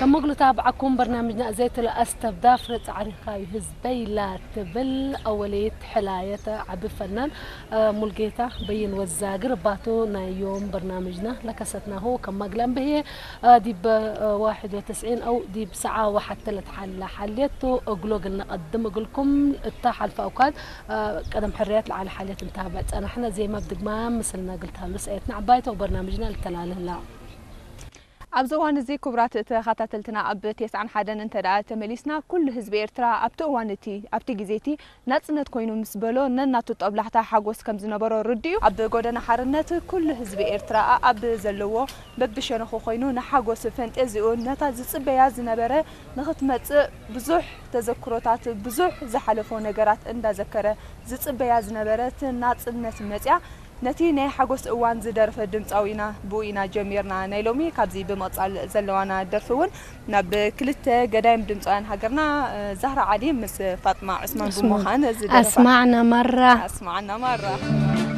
ከም መግሉታ ብዓኩም በርናምጅና ዘይትለ ኣስተብዳ ፍረ ጻዕሪኻ እዩ ህዝበይ ላ ትብል ኣወለየት ሕላየተ ዓቢ ፈናን ሙልጌታ በይን ወዛግር ባቱ ናይ ዮም በርናምጅና ለከሰትናሁ ከም ማግላም ብህየ ዲብ ዋሕድ ወተስዒን ኣው ዲብ ሰዓ ወሓተ ለትሓላ ሓልየቱ እግሎ ግልና ቀድም እግልኩም እታ ሓልፋ ኣውካድ ቀደም ሕርያት ለዓለ ሓልየት እንታበዕ ጸናሕና ዜማ ብድግማ ምስልና ግልታሉ ሰየትና ዓባይቶ በርናምጅና ልተላልህላ። ኣብዚ እዋን እዚ ክቡራት ተኸታተልትና ኣብ ተስዓን ሓደን እንተ ደኣ ተመሊስና ኩሉ ህዝቢ ኤርትራ ኣብቲ እዋን እቲ ኣብቲ ግዜ እቲ ናጽነት ኮይኑ ምስ በሎ ነናቱ ጦብላሕታ ሓጎስ ከም ዝነበሮ ርድኡ። ኣብ ጎደና ሓርነት ኩሉ ህዝቢ ኤርትራ ኣብ ዘለዎ በብሸነኹ ኮይኑ ንሓጎስ ፈንጠዚኡ ነታ ዝጽበያ ዝነበረ ንኽትመጽእ ብዙሕ ተዘክሮታት ብዙሕ ዝሓለፎ ነገራት እንዳዘከረ ዝጽበያ ዝነበረት ናጽነት መጽያ ነቲ ናይ ሓጎስ እዋን ዝደረፈ ድምጻዊ ኢና ብኡ ኢና ጀሚርና ናይ ሎሚ ካብዚ ብምቕጻል ዘለዋና ደርፊ እውን ናብ ክልተ ገዳይም ድምጻውያን ሃገርና ዛህራ ዓሊ ምስ ፋጥማ ዑስማን ብምዃን ዝደረፋ ኣስማዕና ማራ ኣስማዕና ማራ